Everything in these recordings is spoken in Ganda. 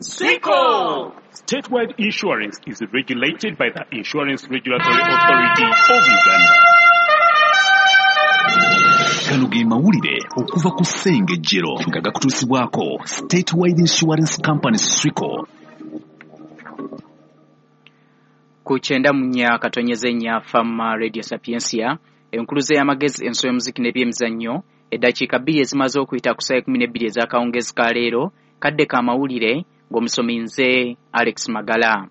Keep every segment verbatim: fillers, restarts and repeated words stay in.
Swico! Statewide Insurance is regulated by the Insurance Regulatory Authority of Uganda. Gano ge mawulire okuva ku Ssengejjero nga gakutuusibwako Statewide Insurance Company Swico. Ku kyenda mu nnya katonyeze nnya Fama Radio Sapientia, enkuluze y'amagezi, enso y'omuziki n'ebyemizannyo. Eddakiika bbiri ezimaze okuyita ku ssaawa ekkumi n'ebbiri ez'akawungeezi ka leero, kadde ka mawulire ng'omusomi nze Alex Magala.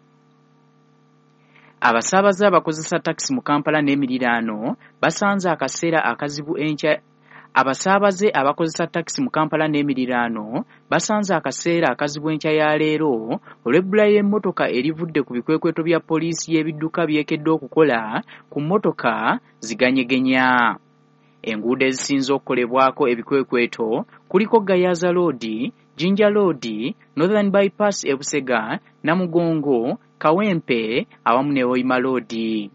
Abasaabaze abakozesa takisi mu Kampala n'emiriraano basanze akaseera akazibu enkya. Abasaabaze abakozesa takisi mu Kampala n'emiriraano basanze akaseera akazibu enkya ya leero olw'ebbula y'emmotoka erivudde ku bikwekweto bya poliisi y'ebidduka byekedde okukola ku mmotoka ziganyegenya. Enguudo ezisinze okukolebwako ebikwekweto kuliko Gayaza Road, Jinja Road, Northern Bypass e Busega, Namugongo, Kawempe awamu ne Hoima Road.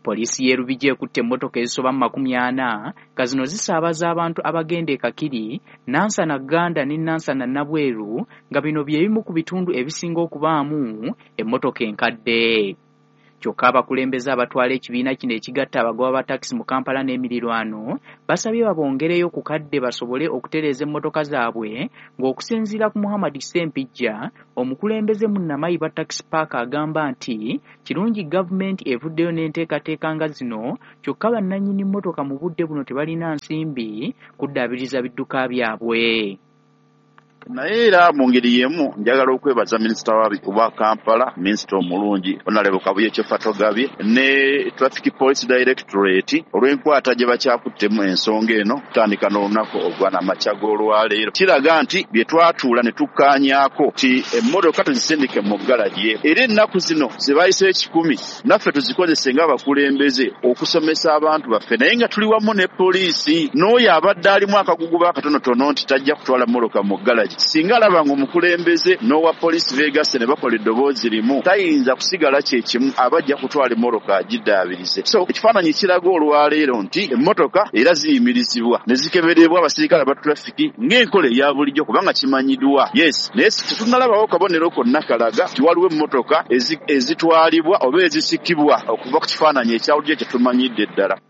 Poliisi y'e Lubigi ekutte emmotoka ezisoba mu makumi ana nga zino zisaabaza abantu abagenda e Kakiri, Nansana Gganda ne Nansana Nabweru, nga bino bye bimu ku bitundu ebisinga okubaamu emmotoka enkadde. Kyokka abakulembeze abatwala ekibiina kino ekigatta abagoba ba takisi mu Kampala n'emirirwano basabye babongereyo ku kadde basobole okutereeza emmotoka zaabwe, ng'okusinziira ku Muhammad Ssempijja, omukulembeze mu Namayiba Taxi Park, agamba nti kirungi gavumenti evuddeyo n'enteekateeka nga zino, kyokka bannannyini mmotoka mu budde buno tebalina nsimbi kuddaabiriza bidduka byabwe. Naye era mu ngeri y'emu njagala okwebaza minisita wa Kampala, minisita omulungi Honorable Kabuye Kyofatogabye ne Traffic Police Directorate olw'enkwata gye bakyakuttemu ensonga eno kutandika n'olunaku ogw'amakya g'olwaleero. Kiraga nti bye twatuula ne tukkaanyaako nti emmotoka tuzisindike mu ggalagi, era ennaku zino ze bayise ekikumi naffe tuzikozese ng'abakulembeze okusomesa abantu baffe, naye nga tuli wamu ne poliisi n'oyo abadde alimu akaguguba akatonotono nti tajja kutwala mmotoka mu ggalagi. Singa alaba ng'omukulembeze n'owa poliisi beegasse ne bakola eddoboozi limu, tayinza kusigala kye kimu, aba ajja kutwala emmotoka agiddaabirize. So ekifaananyi kiraga olwaleero nti emmotoka era ziyimirizibwa ne zikeberebwa abasirikale aba trafiki ng'enkola eya bulijjo, kubanga kimanyiddwa. Yes, naye tetunnalabawo kabonero konna kalaga nti waliwo emmotoka ezitwalibwa oba ezisikibwa okuva ku kifaananyi ekya bulijjo kye tumanyidde ddala.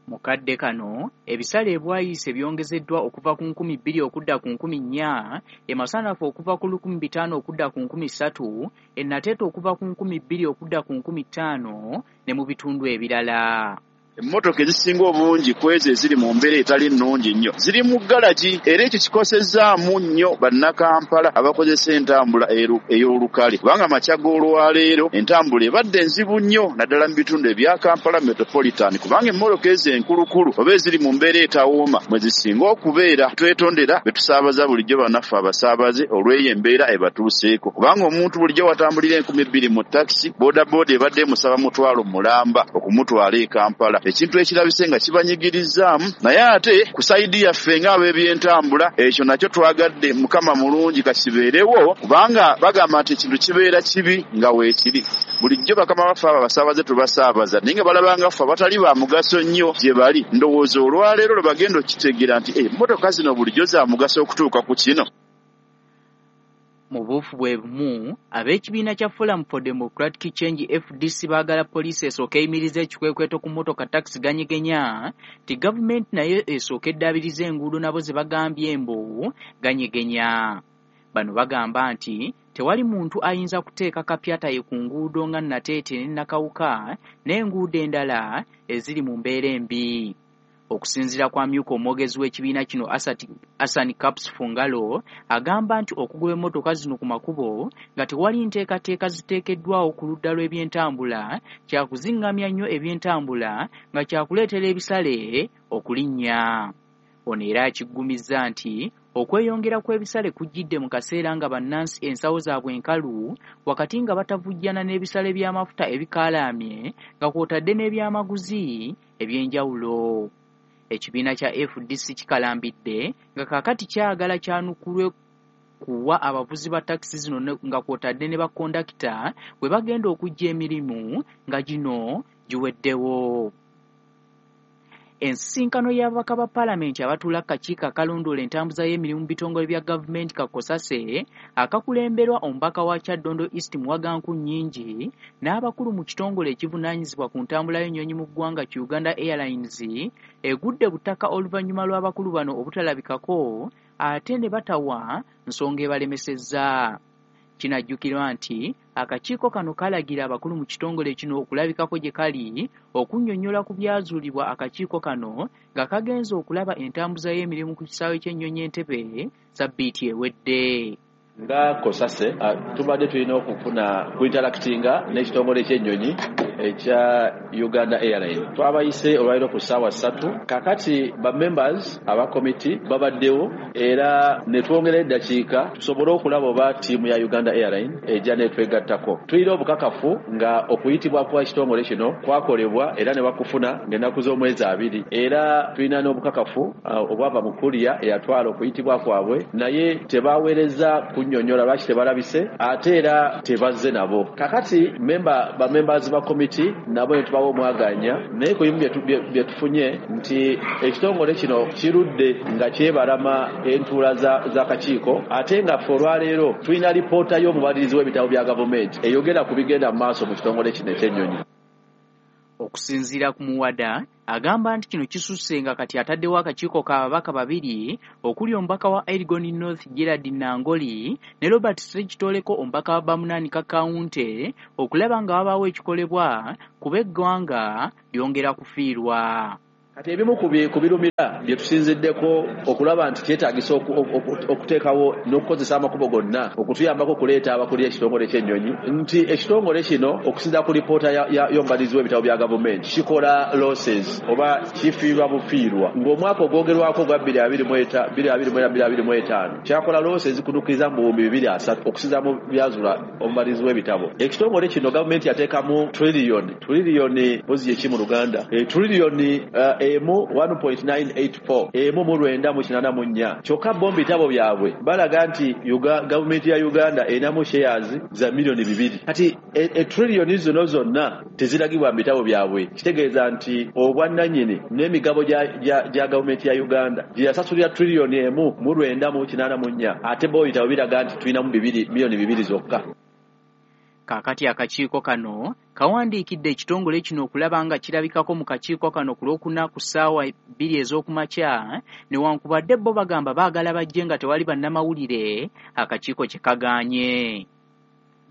Mu kadde kano ebisale ebwayiise byongezeddwa okuva ku nkumi bbiri okudda ku nkumi nnya, e Masanafu okuva ku lukumi bitaano okudda ku nkumi ssatu, e Nateete okuva ku nkumi bbiri okudda ku nkumi ttaano ne mu bitundu ebirala. Emmotoka ezisinga obungi ku ezo eziri mu mbeera etali nnungi nnyo ziri mu ggalagi, era ekyo kikosezzaamu nnyo bannakampala abakozesa entambula ey'olukale, kubanga amakya g'olwaleero entambula ebadde nzibu nnyo naddala mu bitundu ebya Kampala Metropolitan, kubanga emmotoka ezo enkulukulu oba eziri mu mbeera etawooma mwe zisinga okubeera. Twetondera be tusaabaza bulijjo bannaffe abasaabaze olw'eyo embeera ebatuuseeko, kubanga omuntu bulijjo watambulira enkumi bbiri mu takisi, boodabooda ebadde emusaba mutwalo mulamba okumutwala e Kampala, ekintu ekirabise nga kibanyigirizaamu. Naye ate ku sayidi yaffe ng'ab'ebyentambula ekyo nakyo twagadde Mukama mulungi kakibeerewo, kubanga bagamba nti ekintu kibeera kibi nga weekiri. Bulijjo bakama baffe abo abasaabaze tubasaabaza, naye nga balabanga ffe abatali ba mugaso nnyo gye bali. Ndowooza olwaleero lwe bagenda okukitegeera nti emmotoka zino bulijjo za mugaso okutuuka ku kino. Mu buufu bwe bumu, ab'ekibiina kya Forum for Democratic Change F D C baagala poliisi esooke eyimirize ekikwekweto ku mmotoka takisi ganyegenya, nti gavumenti nayo esooke eddaabirize enguudo nabo ze bagambye mbu ganyegenya. Bano bagamba nti tewali muntu ayinza kuteeka kapyata ye ku nguudo nga Nateete ne Nakawuka n'enguudo endala eziri mu mbeera embi. Okusinziira kwa myuka omwogezi w'ekibiina kino Asani Caps Fungalo, agamba nti okugoba emmotoka zino ku makubo nga tewali nteekateeka ziteekeddwawo ku ludda lw'ebyentambula kyakuzingamya nnyo ebyentambula nga kyakuleetera ebisale okulinnya. Ono era akiggumizza nti okweyongera kw'ebisale kujjidde mu kaseera nga bannansi ensawo zaabwe enkalu, wakati nga batavujjana n'ebisale by'amafuta ebikaalamye nga kw'otadde n'ebyamaguzi eby'enjawulo. Ekibiina kya F D C kikalambidde nga kaakati kyagala kyanukulwe kuwa abavuzi ba takisi zino nga kw'otadde ne bakondakita bwe bagenda okuggya emirimu nga gino giweddewo. Ensisinkano y'ababaka ba paalamenti abatuula ku kakiiko akalondoola entambuza y'emirimu mu bitongole bya gavumenti kakosase akakulemberwa omubaka wa Kyaddondo East Muwaga Nkunnyingi n'abakulu mu kitongole ekivunaanyizibwa ku ntambula y'ennyonyi mu ggwanga ki Uganda Airlines egudde butaka oluvannyuma lw'abakulu bano obutalabikako ate ne batawa nsonga ebalemesezza. Kinajjukirwa nti akakiiko kano kalagira abakulu mu kitongole kino okulabikako gye kali okunnyonnyola ku byazuulibwa akakiiko kano nga kagenze okulaba entambuza y'emirimu ku kisaawe ky'ennyonyi Entebbe sabbiiti ewedde. Nga kosase tubadde tulina okufuna kuinteractinga n'ekitongole ky'ennyonyi ekya Uganda Airlines. Twabayise olwaliro ku ssaawa ssatu. Kakati ba members aba committee babaddewo era ne twongera eddakiika tusobole okulaba oba ttiimu ya Uganda Airlines ejja n'etwegattako. Tulina obukakafu nga okuyitibwa kwa kitongole kino kwakolebwa era ne bakufuna ng'ennaku z'omwezi abiri, era tulina n'obukakafu obwava mu kuliya eyatwala okuyitibwa kwabwe, naye tebaweereza kunnyonnyola lwaki tebalabise ate era tebazze nabo. Kakati memba ba members ba committee nabo ne tubawa omwaganya, naye ku bimu bye tufunye nti ekitongole kino kirudde nga kyebalama entuula z'akakiiko, ate nga ffe olwaleero tulina lipoota y'omubalirizi w'ebitabo bya gavumenti eyogera ku bigenda mu maaso mu kitongole kino eky'ennyonyi. Okusinziira ku Muwada agamba nti kino kisusse nga kati ataddewo akakiiko k'ababaka babiri okuli omubaka wa Elgon North Gerald Nangoli ne Robert Ssekitoleko omubaka wa Bamunanika County okulaba nga wabaawo ekikolebwa kuba eggwanga lyongera kufiirwa. Kati ebimu ku birumira bye tusinziddeko okulaba nti kyetaagisa okuteekawo n'okukozesa amakubo gonna okutuyambako okuleeta abakulira ekitongole ky'ennyonyi, nti ekitongole kino okusinziira ku lipoota y'omubalirizi w'ebitabo bya gavumenti kikola losses oba kifiirwa bufiirwa, ng'omwaka ogwogerwako ogwa bbiri abiri mu ena bbiri abiri mu etaano kyakola losses kunukkiriza mu buwumbi bibiri asatu okusinziira mu byazula omubalirizi w'ebitabo. Ekitongole kino gavumenti yateekamu triliyoni triliyoni mpozi ye ki mu Luganda, triliyoni emu one point nine eight four emu mu lwenda mu kinaana mu nnya. Kyokka bo mu bitabo byabwe balaga nti gavumenti ya Uganda erinamu shares za miliyoni bibiri. Kati etriliyoni zino zonna teziragibwa mu bitabo byabwe, kitegeeza nti obwannannyini n'emigabo gya gavumenti ya Uganda gye yasasulira triliyoni emu mu lwenda mu kinaana mu nnya, ate bo bitabo biraga nti tulinamu bibiri miliyoni bibiri zokka. Kaakati akakiiko kano kawandiikidde ekitongole kino okulaba nga kirabikako mu kakiiko kano ku Lwokuna ku ssaawa bbiri ez'okumakya, newankubadde bo bagamba baagala bajje nga tewali bannamawulire, akakiiko kye kagaanye.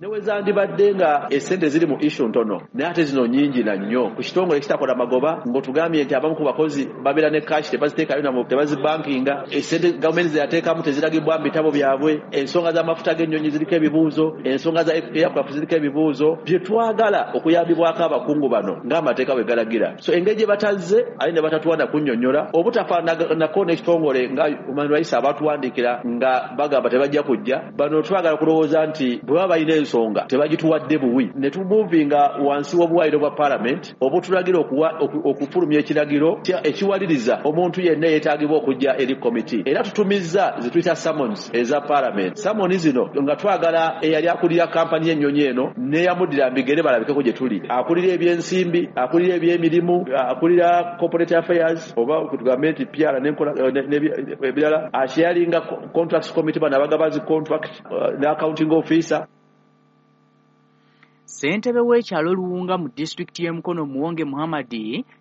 Ne we zandibadde nga essente ziri mu issue ntono, naye ate zino nnyingi na nnyo ku kitongole ekitakola magoba, ng'otugambye nti abamu ku bakozi babeera ne cash tebaziteekayo nabo tebazibankinga, essente gavumenti ze yateekamu teziragibwa mu bitabo byabwe, ensonga z'amafuta g'ennyonyi ziriko ebibuuzo, ensonga za aircraft ziriko ebibuuzo, bye twagala okuyambibwako abakungu bano ng'amateeka bwe galagira. So engeri gye batazze ate ne batatuwa na kunnyonnyola, obutafaananako n'ekitongole nga Human Rights abatuwandiikira nga bagamba tebajja kujja, bano twagala kulowooza nti bwe baba balina ensonga tebagituwadde buwi, ne tumuvinga wansi w'obuwaayiro bwa parliament obutulagira okufulumya ekiragiro ekiwaliriza omuntu yenna yeetaagibwa okujja eri committee. Era tutumizza ze tuyita summons eza parliament. Summons zino nga twagala eyali akulira kampani y'ennyonyi eno n'eyamuddira mbigere balabikeko gye tuli, akulira ebyensimbi, akulira ebyemirimu, akulira corporate affairs oba tugambe nti P R n'enkola ebirala, akyalinga contracts committee bano abagabazi contract ne accounting officer. Ssentebe w'ekyalo Luwunga mu disitulikiti y'e Mukono Muwonge Muhammad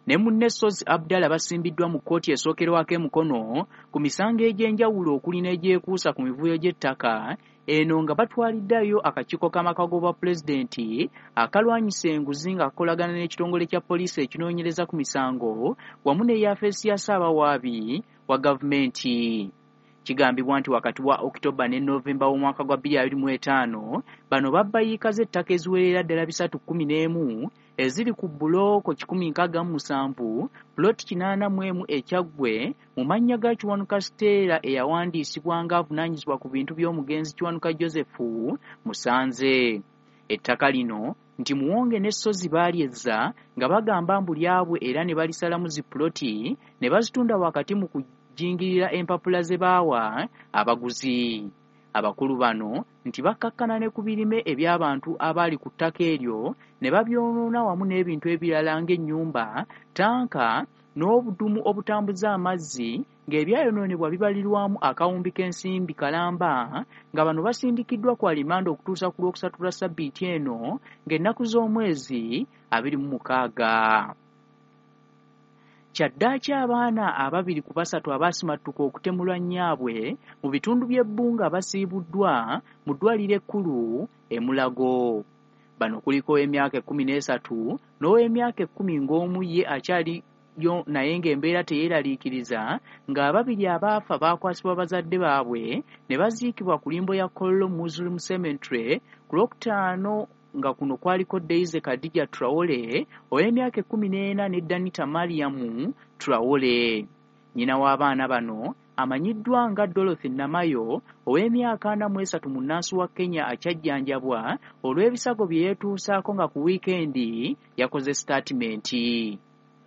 ne munne Ssozi Abdallah basimbiddwa mu kkooti esookerwako e Mukono ku misango egy'enjawulo okuli n'egyekuusa ku mivuyo gy'ettaka eno nga batwaliddeyo akakiiko k'amaka g'obwapulezidenti akalwanyisa enguzi nga kakolagana n'ekitongole kya poliisi ekinoonyereza ku misango wamu n'eyafeesi ya Ssaabawaabi wa gavumenti. Kigambibwa nti wakati wa Okitoba ne Novemba w'omwaka gwa bbiri abiri mu etaano bano babba yiika z'ettaka eziwerera ddala bisatu kkumi n'emu eziri ku bulooko kikumi nkaaga mu musanvu puloti kinaana mu emu e Kyaggwe mu mannya ga Kiwanuka Stella eyawandiisibwa ng'avunaanyizibwa ku bintu by'omugenzi Kiwanuka Joseph Musanze. Ettaka lino nti Muwonge ne Ssozi baalyezza nga bagamba mbu lyabwe era ne balisalamu zi puloti ne bazitunda wakati mu kujingirira empapula ze baawa abaguzi. Abakulu bano nti bakkakkana ne ku birime eby'abantu abaali ku ttaka eryo ne babyonoona wamu n'ebintu ebirala ng'ennyumba, ttanka n'obudumu obutambuza amazzi ng'ebyayonoonebwa bibalirwamu akawumbi k'ensimbi kalamba nga bano basindikiddwa ku alimanda okutuusa ku Lwokusatu lwa ssabbiiti eno ng'ennaku z'omwezi abiri mu mukaaga. Kyaddaaki abaana ababiri ku basatu abaasimattuka okutemulwa nnyaabwe mu bitundu by'ebbunga basiibuddwa mu ddwaliro ekkulu e Mulago. Bano kuliko ow'emyaka ekkumi n'esatu n'ow'emyaka ekkumi ng'omu ye akyaliyo naye ng'embeera teyeeraliikiriza, ng'ababiri abaafa baakwasibwa bazadde baabwe ne baziikibwa ku limbo ya Kololo Muslim Cemetery ku Lwokutaano, nga kuno kwaliko Daisy Khadija Traore ow'emyaka ekkumi n'ena ne Danita Mariamu Traore. Nnyina w'abaana bano amanyiddwa nga Dorothy Namayo ow'emyaka ana mu esatu munnansi wa Kenya akyajjanjabwa olw'ebisago bye yeetuusaako nga ku wiikendi yakoze sitaatimenti.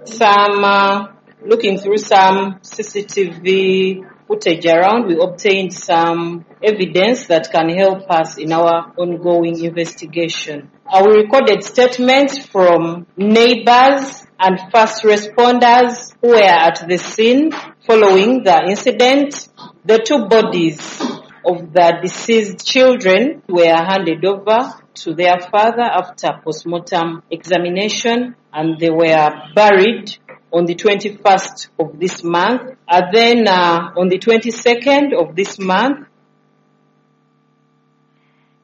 Some uh, looking through some C C T V footage around, we obtained some evidence that can help us in our ongoing investigation. Uh, we recorded statements from neighbors and first responders who were at the scene following the incident. The two bodies of the deceased children were handed over to their father after postmortem examination, and they were buried on the twenty-first of this month. And then uh, on the twenty-second of this month,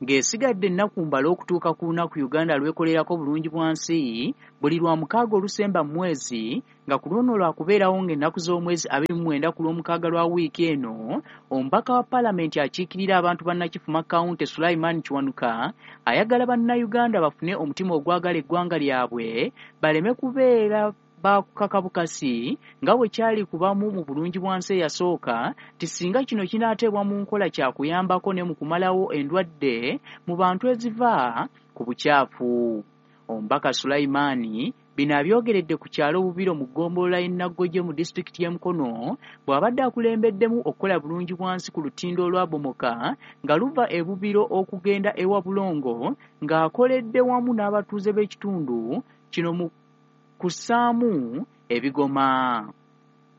ng'esigadde ennaku mbala okutuuka ku lunaku Uganda lwekolerako bulungi bwa nsi buli lwa mukaaga olusemba mu mwezi, nga ku luno lwakubeerawo ng'ennaku z'omwezi abiri mu mwenda ku lw'omukaaga lwa wiiki eno, omubaka wa paalamenti akiikirira abantu bannakifuma County Sulaiman Kiwanuka ayagala bannayuganda bafune omutima ogwagala eggwanga lyabwe baleme kubeera bakukakabukasi nga bwe kyali kubamu mu bulungi bwa nsi eyasooka, nti singa kino kinaateebwa mu nkola kyakuyambako ne mu kumalawo endwadde mu bantu eziva ku bukyafu. Omubaka Sulaimani bino abyogeredde ku kyalo Bubiro mu ggombolola y'e Naggoje mu disitulikiti y'e Mukono bw'abadde akulembeddemu okukola bulungi bwa nsi ku lutindo olwabomoka nga luva e Bubiro okugenda ewa Bulongo, ng'akoledde wamu n'abatuuze b'ekitundu kino mu kussaamu ebigoma.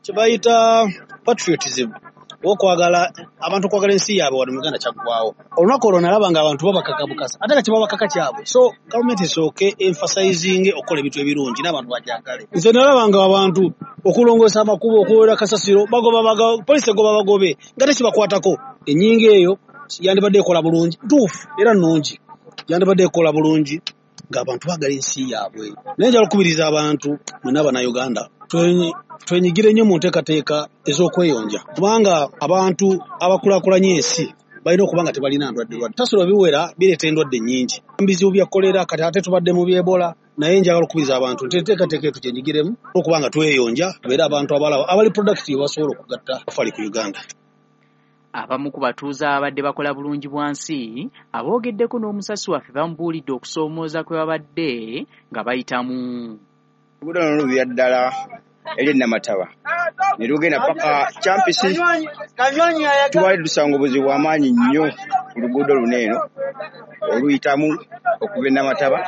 Kye bayita patriotism, okwagala abantu okwagala ensi yaabwe wano mu Uganda kyaggwawo. Olunaku olwo nalaba nga abantu babakaka bukasa, ate nga kyebabakaka kyabwe. So gavumenti esooke emphasizing okukola ebintu ebirungi n'abantu bagyagale. Nze nalaba nga abantu okulongoosa amakubo, okuwera kasasiro, bagoba baga, poliisi egoba bagobe nga tekibakwatako. Ennyingo eyo yandibadde ekola bulungi, ntuufu era nnungi, yandibadde ekola bulungi ng'abantu baagala ensi yaabwe. Naye njagala okukubiriza abantu mwenna Bannayuganda twenyigire nnyo mu nteekateeka ez'okweyonja, kubanga abantu abakulaakulanya ensi balina okuba nga tebalina ndwadde lwadde. Tasiro biwera bireeta endwadde nnyingi, bizibu bya kolera, kati ate tubadde mu byebola. Naye njagala okukubiriza abantu nti enteekateeka eyo tugyenyigiremu okuba nga tweyonja, tubeere abantu abalaba abali productive basobola okugatta fali ku Uganda. Abamu ku batuuze ababadde bakola bulungi bwa nsi aboogeddeko n'omusasi waffe bamubuulidde okusoomooza kwe babadde nga bayitamu. Oluguudo luno lubira ddala eri Namataba ne lugenda paka Kyampisi. Tubadde tusanga obuzibu bw'amaanyi nnyo ku luguudo luno eno oluyitamu okuva e Namataba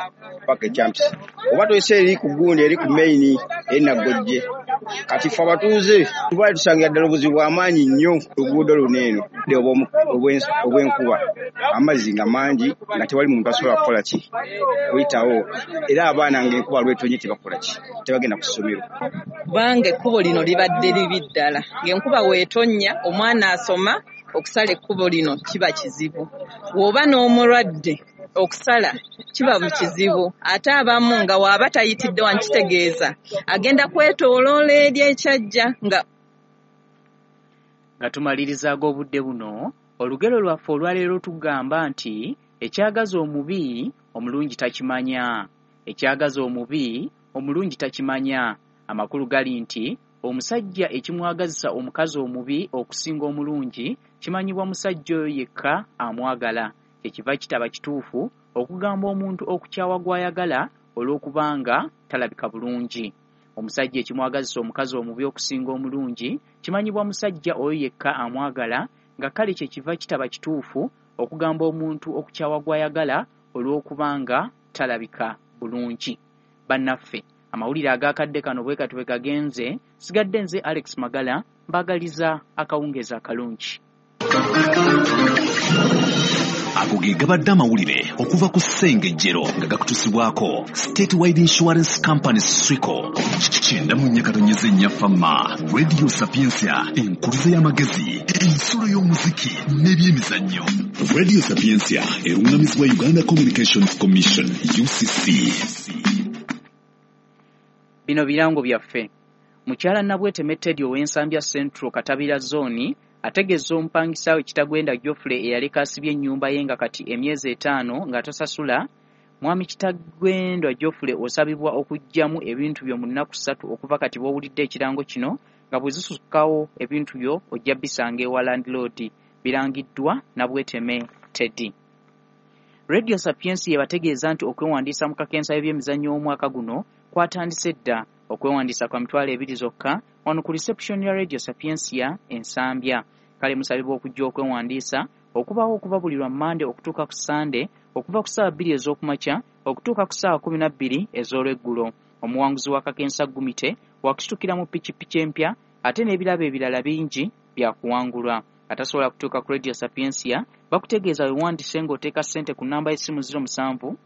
paka e Kyampisi. Oba tuyise eri ku gundi eri ku main eri Naggojje. Kati ffe abatuuze tubadde tusangira ddala obuzibu bw'amaanyi nnyo ku luguudo luno eno obw'enkuba, amazzi nga mangi nga tewali muntu asobola kukola ki kuyitawo, era abaana ng'enkuba lwetonye tebakola ki tebagenda ku ssomero. Kubanga ekkubo lino libadde libi ddala, ng'enkuba weetonnya omwana asoma okusala ekkubo lino kiba kizibu, bw'oba n'omulwadde okusala kiba kizibu, ate abamu nga waaba tayitidde wano kitegeeza agenda kwetooloola eri ekyajja. Nga nga tumaliriza ag'obudde buno, olugero lwaffe olwaleero tugamba nti ekyagaza omubi omulungi takimanya. Ekyagaza omubi omulungi takimanya. Amakulu gali nti omusajja ekimwagazisa omukazi omubi okusinga omulungi kimanyibwa musajja oyo yekka amwagala. Kyekiva kitaba kituufu okugamba omuntu okukyawa gw'ayagala olw'okubanga talabika bulungi. Omusajja ekimwagazisa omukazi omubi okusinga omulungi kimanyibwa musajja oyo yekka amwagala, nga kale kyekiva kitaba kituufu okugamba omuntu okukyawa gw'ayagala olw'okubanga talabika bulungi. Bannaffe, Amawulire agakadde kano bwe kati bwe kagenze. Sigadde nze Alex Magala, mbagaliza akawungeezi akalungi. Ago ge gabadde amawulire okuva ku Ssengejjero nga gakutusibwako Statewide Insurance Company Swico. Kyenda mu nnya katonyeze nnya Fama, Radio Sapientia, enkuluze y'amagezi, ensulo y'omuziki n'ebyemizannyo. Radio Sapientia erungamizibwa Uganda Communications Commission U C C. Bino birango byaffe. Mukyala Nabweteme Teddy ow'Ensambya Central Katabira Zone ategeeza omupangisa we Kitagwenda Geoffrey eyaleka asibye ennyumba ye nga kati emyezi etaano nga tasasula. Mwami Kitagwenda Geoffrey osabibwa okuggyamu ebintu byo mu nnaku ssatu okuva kati bw'owulidde ekirango kino, nga bwe zisukkawo ebintu byo ojja bisanga ewa landlord. Birangiddwa Nabweteme Teddy. Radio Sapientia yebategeeza nti okwewandiisa mu kakensa y'ebyemizannyo omwaka guno kwatandise dda. Okwewandiisa kwa mitwalo ebiri zokka wano ku reception ya Radio Sapientia Ensambya. Kale musabibwa okujja okwewandiisa okubaawo okuva buli lwa Mmande okutuuka ku Sande, okuva ku ssaawa bbiri ez'okumakya okutuuka ku ssaawa kumi na bbiri ez'olweggulo. Omuwanguzi wa kakensa Gumite wakusitukira mu pikipiki empya ate n'ebirabo ebirala bingi byakuwangulwa. Atasobola kutuuka ku Radio Sapientia bakutegeeza wewandiise ng'oteeka ssente ku nnamba y'essimu ziro musanvu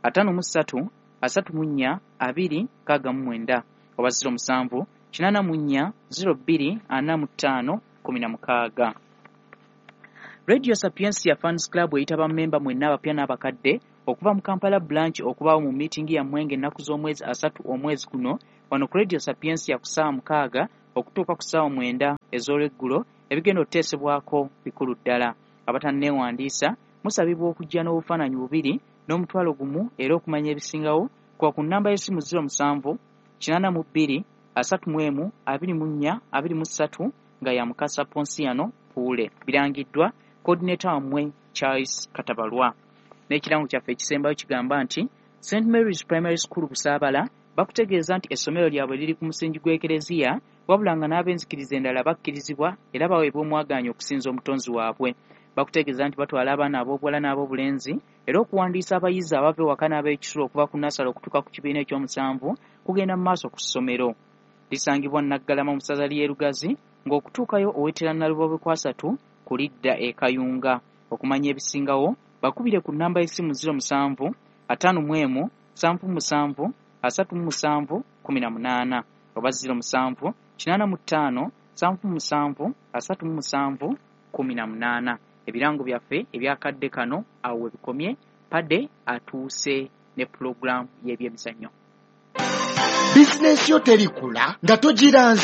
ataano mu ssatu asatu mu nnya abiri nkaaga mu mwenda oba ziro musanvu kinaana mu nnya ziro bbiri ana mu ttaano kumi na mukaaga. Radio Sapientia Fans Club eyita bammemba mwenna abapya n'abakadde okuva mu Kampala branch okubaawo mu meeting yammwe ng'ennaku z'omwezi asatu omwezi guno wano ku Radio Sapientia ku ssaawa mukaaga okutuuka ku ssaawa mwenda ez'olweggulo. Ebigenda okuteesebwako bikulu ddala. Abatanneewandiisa musabibwa okujja n'obufaananyi bubiri n'omutwalo gumu, era okumanya ebisingawo kuba ku nnamba y'essimu ziro musanvu kinaana mu bbiri asatu mu emu abiri mu nnya abiri mu ssatu nga ya Mukasa Ponsiano Puule. Birangiddwa coordinator wammwe Charles Katabalwa. N'ekirango kyaffe ekisembayo kigamba nti Saint Mary's Primary School Busaabala bakutegeeza nti essomero lyabwe liri ku musingi gw'ekereziya, wabula nga n'ab'enzikiriza endala bakkirizibwa era baweebwa omwagaanya okusinza omutonzi waabwe. Bakutegeeza nti batwala abaana ab'obuwala n'ab'obulenzi, era okuwandiisa abayizi abava ewaka n'ab'ekisulo okuva ku nasale okutuuka ku kibiina ekyomusanvu kugenda mu maaso ku ssomero. Lisangibwa Naggalama mu ssaza ly'e Lugazi, ng'okutuukayo owetera Nalubobe kwasatu ku lidda e Kayunga. Okumanya ebisingawo bakubire ku nnamba y'essimu ziro musanvu ataano mu emu nsanvu musanvu asatu mu musanvu kumi na munaana oba ziro musanvu kinaana mu ttaano nsanvu musanvu asatu mu musanvu kumi na munaana. Ebirango byaffe ebyakadde kano awo we bikomye. Padde atuuse ne pulogulaamu y'ebyemizannyo. Bizinensi yo terikula nga togiranze.